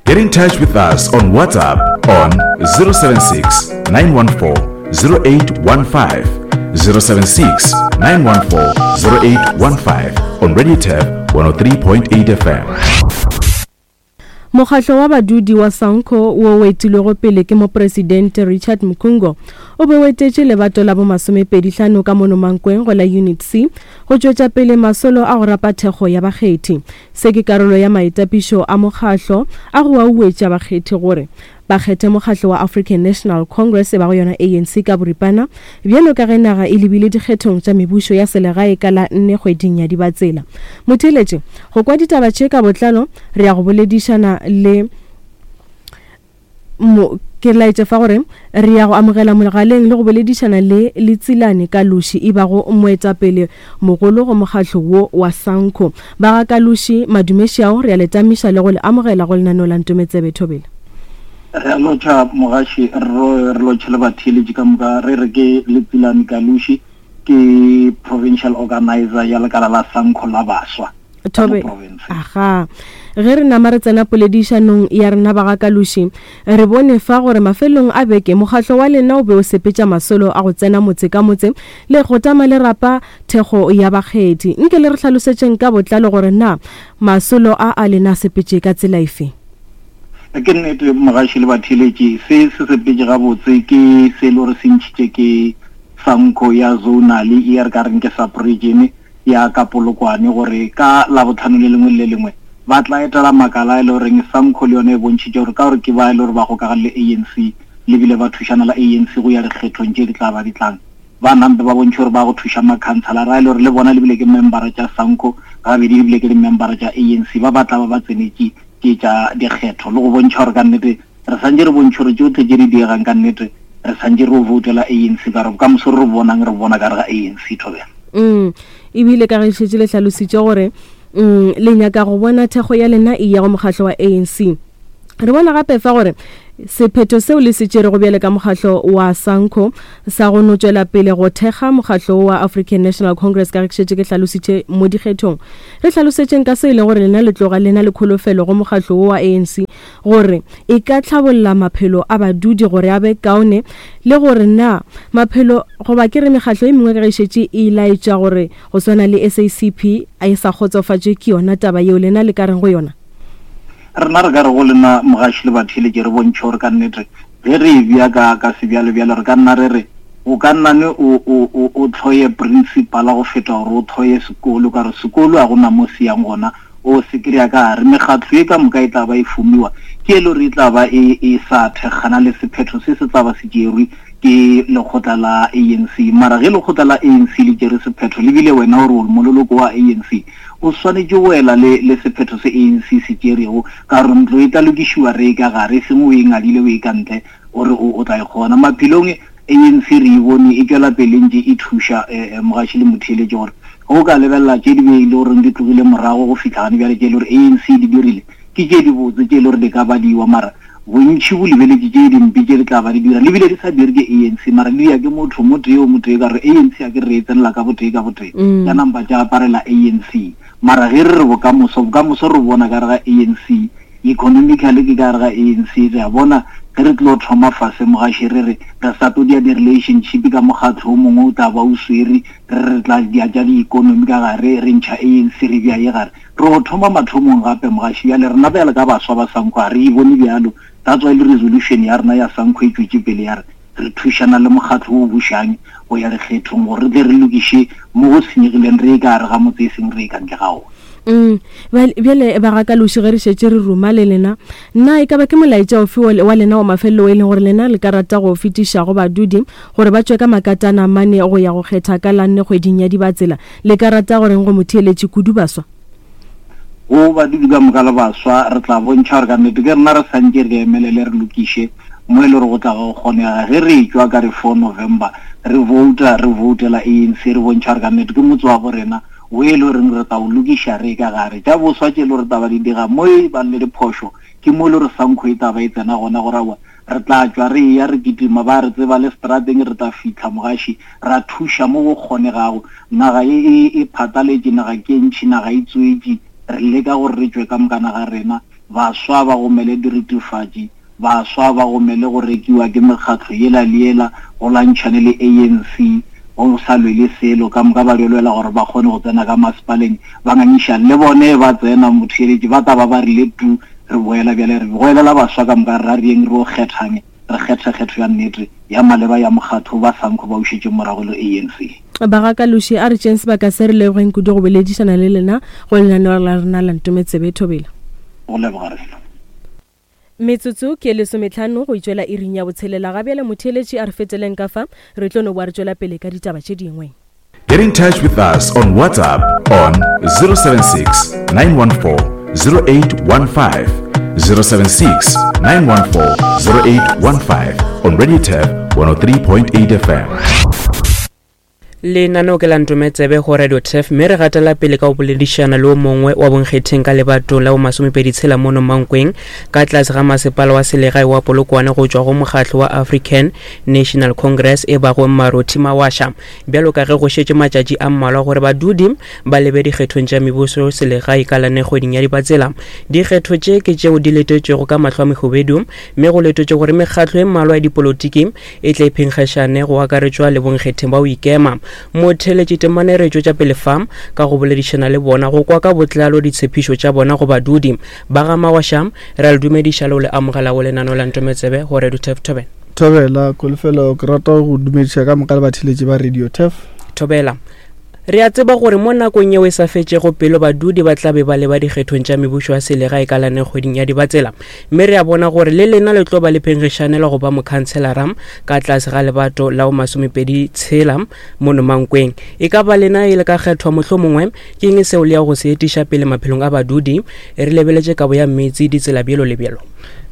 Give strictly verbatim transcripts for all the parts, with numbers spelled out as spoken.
Get in touch with us on WhatsApp on zero seven six, nine one four, zero eight one five, zero seven six, nine one four, zero eight one five on Radio Turf one oh three point eight F M. Mokgatlo wa badudi wa Sanco wo o etilwego pele ke mopresidente Richard Mkhungo o be o etetše lebato la bomasomepedi hlano ka mono Mankweng go la Unit C go tšwetša pele masolo a go rapa thekgo ya bakgethi. Se ke karolo ya maitapišo a mokgatlo a go auetša bakgethi gore ba kgethe mokgatlo wa African National Congress e bago yona A N C ka boripana bjalo ka ge naga e lebile dikgethong tša mebušo ya selegae ka la nne kgweding ya Dibatsela. Motheeletše, go kwa ditaba tše ka botlalo re ya go boledišana le mo, ke laetše fa gore re ya go amogela mogaleng le go boledišana le Letsilane Kalushi e bago moetapele mogolo go mokgatlo wo wa Sanco. Ba ga Kalushi, madumešiao, re ya le tamiša le go le amogela go lenaneo la Ntometsebe Thobela. Re a lotšha mogaši, re lotšhe le batheeletši ka moka. Re re ke Letsilane Kalushi, ke provincial organizer ya lekala la Sanco la baswa. Thobe, aha. Ge re nama re tsena poledišanong ya rena ba ga Kalushi, re bone fa gore mafelong a beke mokgatlo wa lena o be o sepetša masolo a go tsena motse ka motse le go tama le rapa thekgo ya bakgethi. Nke le re hlalosetšeng ka botlalo gore na masolo a a lena a sepetše ka tsela efe? Ke nnete mogaši le batheeletši, se se sepetše gabotse ke se e le gore se ntšhitše ke Sanco ya zonal e re ka reng ke sub-region ya ka Polokwane, gore ka labohlano le lengwe le lengwe ba tla etela makala e le goreng Sanco le yone e bontšhitše gore ka gore ke ba e le gore ba gokagane le A N C le bile ba thušana la A N C go ya dikgethong tše di tla ba di tlang. Ba nampe ba bontšhe gore ba go thuša makhanselara a e le gore le bona le bile ke membera tša Sanco, gabedi le bile ke di-membera tša A N C, ba ba tla ba ba tsenetše ke tša dikgetho le go bontšha gore ka nnete re santše re bontšhe gore tšohle tše di diegang ka nnete re santše re voutela A N C, ka gore bokamoso re bonang re bona ka re ga A N C Thobela. Mm, ebile ka ge šetše le hlalositše gore, mm, le nyaka go bona thekgo ya lena e ya go mokgatlo wa A N C. Re bona gape fa gore sephetho seo le se tšerego bjale ka mokgatlo wa Sanco sa go no tšwela pele go thekga mokgatlo wa African National Congress ka ge ke šetše ke hlalositše mo dikgethong. Re hlalosetšeng ka se e leng gore lena le tloga le na le kholofelo go mokgatlo wo wa A N C gore e ka tlhabolla maphelo a badudi gore a be kaone, le gore na maphelo goba ke re mekgatlo e mengwe ka ge e šetše e laetša gore go swana le S A C P a e sa kgotsofatše ke yona taba yeo lena le ka reng go yona? Rena re ka re go lena mogaši le batheeletši re bontšhe gore ka nnete ge re e bea ka, ka sebjalebjale re ka nna re re o ka nna ne o, o, o, o tlhoye principal go feta gore o tlhoye sekolo, ka gore sekolo ga gona mo se yang gona, o se kry-a ka gare. Mekgatlo e ka moka e tla ba e fumiwa ke e le gore e tla ba e, e sa thekgana le sephetho se se tla ba se tšerwe ke lekgotla la A N C. Mara ge lekgotla la A N C le tšere sephetho, le bile wena gore o mololoko wa A N C, o swanetše go ela le, le sephetho se A N C se tšerego, ka gore ntlo e tla lokišiwa re e ka gare, e seng o e ngadile o e ka ntle gore o, o tla e kgona. Maphelong A N C re e bone e tšwela pele ntše e thuša, eh, eh, mogaši le motheeletši gore ge o ka lebelela tše di be e le goreng di tlogile morago go fihla gane bjale tše e le gore A N C di dirile ke tše di botse tše e le gore di ka badiwa, mara bontši bo lebeletše tše dimpe tše di tla ba di dira, le bile di sa dire ke A N C, mara di ya ke motho motee o motee, ka gore A N C a ke re e tsenela ka botee ka botee, Mm. tša nampa tša aparela A N C. Mara ge re re bokamoso, bokamoso re bona ka re ga A N C, economically ke ka re ga A N C, re a bona ge re tlo thoma fase mogaši re re re sa tlo dia di-relationship ka mokgatlo o mongwe o tla ba o swere, re re tla dia tša di-economy ka gare, re ntšha A N C re bea ye gare. Re go thoma mathomong gape mogaši, bjale rena bjale ka baswa ba Sanco ga re e bone bjalo. That's why le resolution ya rena ya Sanco e tšwetše pele ya re re thušana le mokgatlo o bušang go ya dikgethong gore re tle re lokiše mo go senyegileng re e ka gare ga motse e seng re e ka ntle ga ona. Mm, bjale, bjale ba ga Kalushi ge re šetše re ruma le lena, na e ka ba ke molaetša ofe wa le-, wa lena wa mafelelo e leng gore lena le ka rata go fetiša go badudi gore ba tšwe ka makatana mane go ya go kgetha ka la nne kgweding ya Dibatsela? Le ka rata goreng go motheeletši kudu baswa? Go badudi ka moka le baswa re tla bontšha gore ka nnete ke rena re santše re emelele re lokiše mo e le gore go tla go kgonega. Ge re tšwa ka re four November re vouta, re voutela A N C, re bontšha gore ka nnete ke motse wa bo rena o e le goreng re tla o lokiša re ka gare. Tša boswa tše e le gore taba di dira mo e bang le diphošo ke mo e le gore Sanco e taba e tsena gona gore aowa re tla tšwa re ya re kitima, ba re tseba le strateng re tla fihla mogaši ra thuša mo go kgonegago. Naga e, e, e phataletše, naga ke ntšhi, naga e tswetše, re leka gore re tšwe ka mokana ga rena Baswa ba gomele diritifatši, baswa ba gomele go rekiwa ke mekgatlo yela le yela, go lwantšhane le A N C, go sa lwele selo, ka moka ba di lwela gore ba kgone go tsena ka masepaleng, ba ngangišane le bone ba tsena motheeletši, ba tla ba ba rile tu, re boela bjale re goelela baswa ka moka, re reng re o kgethang, re kgethe kgetho ya nnete ya maleba ya mokgatlo ba Sanko ba ušetše morago le A N C. Bagakaloši a re tšeng sebaka se re lebogeng kudu go boledišana le lena go lenaneo la rena la Ntometsebe. Thobela. Go leboga rena. Metsotso ke lesometlhano go itšwela iring ya botshelela. Ga bjale motheeletši a re feteleng ka fa, re tlo no boa re tšwela pele ka ditaba tše dingwe. Get in touch with us on WhatsApp on zero seven six, nine one four, zero eight one five, zero seven six, nine one four, zero eight one five on Radio Turf one oh three point eight F M. Lenaneo ke la Ntometsebe go Radio Turf, mme re gatela pele ka go boledišana le o mongwe wa bonkgetheng ka lebato la bo masomepedi tshela mono Mankweng ka tlase ga masepala wa selegae wa Polokwane go tšwa go mokgatlo wa African National Congress e bago Marothi Mawasha. Bjalo ka ge go šetše matšatši a mmalwa gore badudi ba lebe dikgethong tša mebuso selegae ka lane kgweding ya Dibatsela. Dikgetho tše ke tšeo di letetšwego ka mahlo a mehubedu, mme go letetšwe gore mekgatlo e mmalwa ya dipolotiki e tle e phenkgišane go akaretšwa le bonkgetheng ba go ikema. Motheeletši temane re tšwetša pele fa ka go boledišana le bona go kwa ka botlalo ditshepišo tša bona go badudi ba ga Mawasha. Re a le dumediša le go le amogela go lenaneo la Ntometsebe go Radio Turf. Thobela. Thobela, Kholofelo, ke rata go dumediša ka moka le batheeletši ba Radio Turf. Thobela. Re a tseba gore mo nakong yeo e sa fetšego pelo badudi ba tla be ba leba dikgethong tša mebušo ya selegae ka lane kgweding ya Dibatsela, mme re a bona gore le lena le tlo ba le phenkgišanela go ba mokhanselara ka tlase ga lebato la bo masomepedi tshela mono Mankweng. E ka ba lena e le ka kgethwa mohlomongwe, ke eng seo le ya go se etiša pele maphelong a badudi? Re lebeletše kabo ya metsi, ditsela, bjalo le bjalo.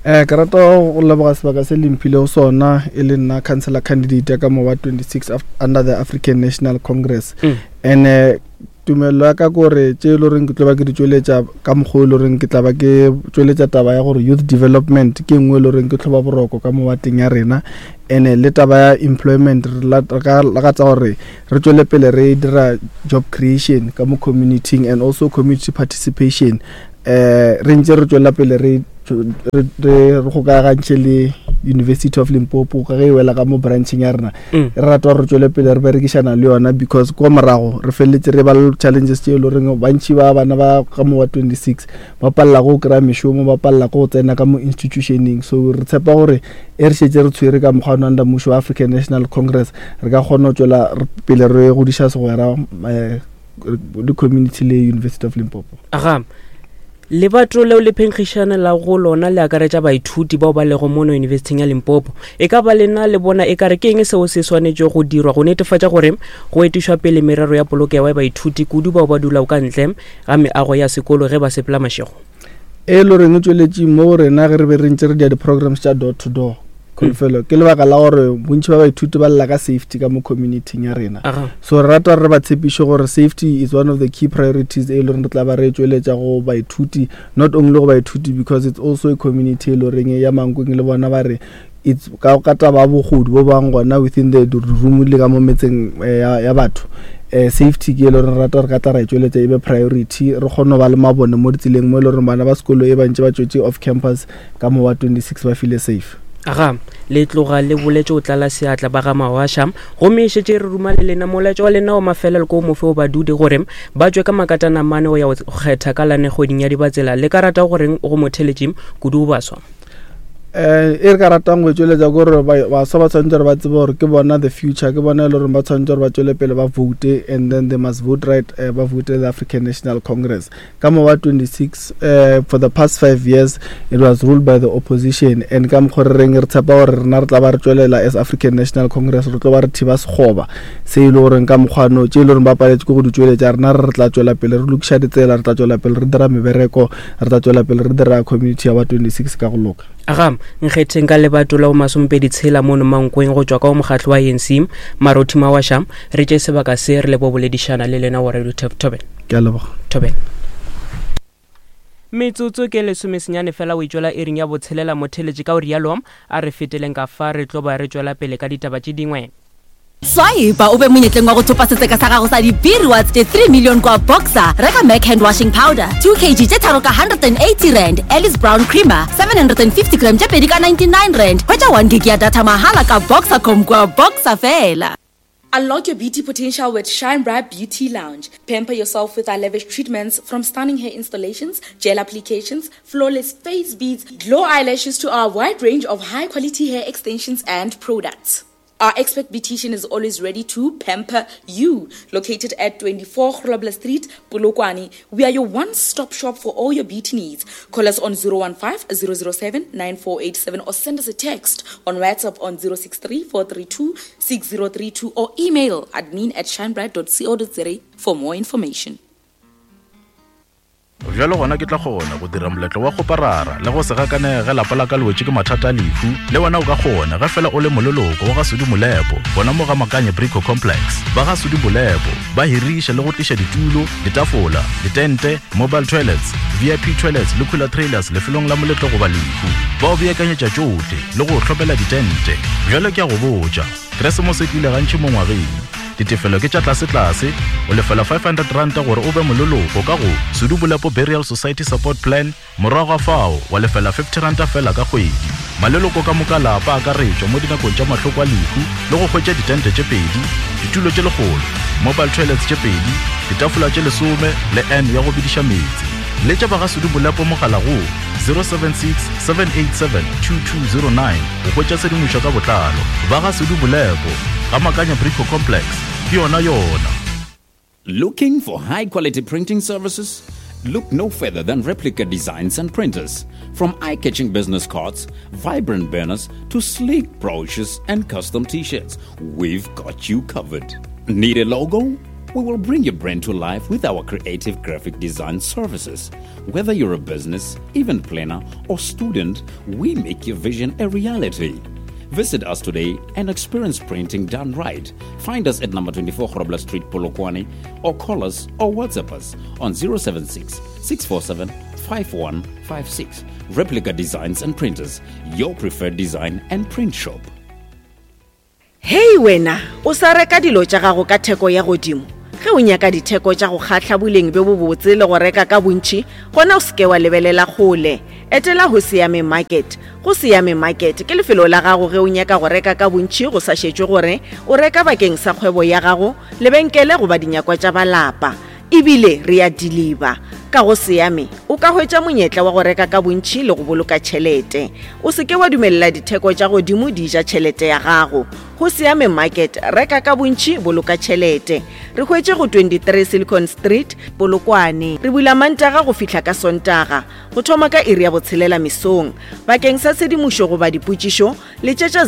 Eh, ke rata go leboga sebaka se le mphilego sona e le nna councillor candidate ya ka mo wa twenty-six under the African National Congress. Mm. And, eh, tumelo ya ka ke gore tše e le goreng ke tlo ba ke di tšweletša ka mokgwa o e le goreng ke tla ba ke tšweletša taba ya gore youth development ke nngwe e le goreng ke tlhoba boroko ka mo wateng ya rena. And le taba ya employment, re la-, re ka lakatsa gore re tšwele pele re dira job creation ka mo community and also community participation. Eh, re ntse re tšwela pele re, re, re kgokagantšhe le University of Limpopo ka ge e wela ka mo brancheng ya rena. Mm. Re rata gore re tšwele pele re berekišana le yona because kwa morago re felletse re ba le challenges tše e le goreng bantši ba bana ba ka mo wa twenty-six ba palela go kry-a mešomo, ba palela go tsena ka mo institutioneng. So re tshepa gore e re šetše re tshwere ka mokgwa wa under mmušo wa African National Congress, re ka kgona go tšwela pele re godiša segwera, eh, le community le University of Limpopo. Aga. Lebato leo le phenkgišana la go lona le akaretša baithuti bao ba lego mono Yunibesithing ya Limpopo. E ka ba lena le bona e ka re ke eng seo se swanetše go dirwa go netefatša gore go etišwa pele merero ya polokego ya baithuti kudu bao ba dulago ka ntle ga meago ya sekolo ge ba sepela mašego? E le goreng e tšweletše mo go rena ge re be re ntše re dia di-programs tša door to door. Kholofelo ke lebaka la gore bontši ba baithuti ba lla ka safety ka mo community-ing ya rena. Aha. So re rata gore re ba tshepiše gore safety is one of the key priorities e le goreng re tla ba re tšweletša go baithuti, not only go baithuti because it's also a community e le goreng ya Mankweng le bona ba re it's ka, ka taba ya bogodu bo bang gona within the room le ka mo metseng, eh, ya, ya batho. Eh, safety ke e le gore re rata gore ka tla ra e tšweletša e be priority, re kgone go ba le mabone mo ditseleng mo e le gore bana ba sekolo e ba ntše ba tšwetše off campus ka mo wa twenty-six ba file safe. Aga, le tloga le boletše o tlala seatla ba ga Mawasha, gomme e šetše re ruma le lena molaetša wa lena wa mafelelo ko mofe o badudi gore ba tšwe ka makatana mane go ya go kgetha ka lane kgweding ya Dibatsela. Le ka rata goreng go motheeletši kudu go baswa? Eh, e re ka ratang go e tšweletša ke gore ba-, baswa ba tshwanetse gore ba tsebe gore ke bona the future, ke bona e le gore ba tshwanetse gore ba tšwele pele ba vote, and then they must vote right, eh, ba vote the African National Congress. Ka mo wa twenty-six, eh, for the past five years it was ruled by the opposition, and ka mokgwa re reng re tshepa gore rena re tla ba re tšwelela as African National Congress, re tlo ba re thiba sekgoba se e le goreng ka mokgwa no tše e le goreng ba paletse ke go di tšweletša, rena re tla tšwela pele re lokiša ditsela, re tla tšwela pele re dira mebereko, re tla tšwela pele re dira community ya ba twenty-six ka go loka. Aga, nkgetheng ka lebato la bo masomepedi tshela mono Mankweng go tšwa ka go mokgatlo wa A N C, Marothi Mawasha, re tše sebaka se re le bo boledišana le lena wa Radio Turf. Thobela. Ke a leboga. Thobela. Metsotso ke lesomesenyane fela o e tšwela iring ya botshelela motheeletši, ka o rialo a re feteleng ka fa re tlo ba re tšwela pele ka ditaba tše dingwe. Swipe o be monyetleng wa go thopa setseka sa gago sa di-B-rewards tše three million kwa Boxer. Reka Mac hand washing powder two kg tše tharo ka one hundred and eighty rand, Alice Brown creamer seven hundred and fifty gram tše pedi ka ninety-nine rand. Hwetša one gig ya data mahala ka Boxercom kwa Boxer fela. Unlock your beauty potential with Shine Bright Beauty Lounge. Pamper yourself with our lavish treatments, from stunning hair installations, gel applications, flawless face beads, glow eyelashes to our wide range of high quality hair extensions and products. Our expert beautician is always ready to pamper you. Located at twenty-four Grobler Street, Polokwane, we are your one-stop shop for all your beauty needs. Call us on zero one five zero zero seven nine four eight seven or send us a text on WhatsApp on zero six three four three two six zero three two or email admin at shinebright dot co dot za for more information. Bjalo gona ke tla kgona go dira moletlo wa kgoparara le go se gakanege ge lapa la ka le wetše ke mathata a lehu. Le wena o ka kgona ge fela o le moleloko wa ga Sudi Molepo gona mo ga Makanye Brico Complex. Ba ga Sudi Molepo ba hiriša le go tliša ditulo, ditafola, ditente, mobile toilets, V I P toilets le cooler trailers lefelong la moletlo goba lehu. Ba o beakanyetša tšohle le go hlopela ditente. Bjale ke a go botša, Keresemose e tlile gantši mo ngwageng. Ditefelo ke tša tlasetlase, o lefela five hundred ranta gore o be moleloko ka go Sudu Bolepo Burial Society Support Plan. Morago ga fao wa lefela fifty ranta fela ka kgwedi. Maleloko ka moka lapa akaretšwa mo dinakong tša mahloko a lehu le go hwetša ditente tše pedi, ditulo tše lekgolo, mobile toilets tše pedi, ditafola tše lesome le n ya go bidiša meetse. Letša ba ga Sudu Bolepo mogala go zero seven six seven eight seven two two zero nine go hwetša tshedimošo ka botlalo. Ba ga Sudu Bolepo ga Makanya Brico Complex ke yona yona. Looking for high quality printing services? Look no further than Replica Designs and Printers. From eye catching business cards, vibrant banners, to sleek brochures and custom t shirts, we've got you covered. Need a logo? We will bring your brand to life with our creative graphic design services. Whether you're a business, event planner, or student, we make your vision a reality. Visit us today and experience printing done right. Find us at number twenty-four Grobler Street, Polokwane, or call us or WhatsApp us on zero seven six six four seven five one five six. Replica Designs and Printers, your preferred design and print shop. Hei wena, o sa reka dilo tša gago ka theko ya godimo? Ge o nyaka ditheko tša go kgahla, boleng bjo bobotse le go reka ka bontši, gona o seke wa lebelela kgole. Etela go Siame Market. Go Siame Market ke lefelo la gago ge o nyaka go reka ka bontši, go sa šetšwe gore o reka bakeng sa kgwebo ya gago, lebenkele goba dinyakwa tša balapa. Ebile re ya deliver. Ka go Siame o ka hwetša monyetla wa go reka ka bontši le go boloka tšhelete. O seke wa dumelela ditheko tša godimo di ja tšhelete ya gago. Go Siame Market, reka ka bontši, boloka tšhelete. Re hwetše go twenty-three Silicon Street, Polokwane. Re bula Mantaga go fihla ka Sontaga go thoma ka iri ya botshelela mesong. Bakeng sa tshedimošo goba dipotšišo, letšetša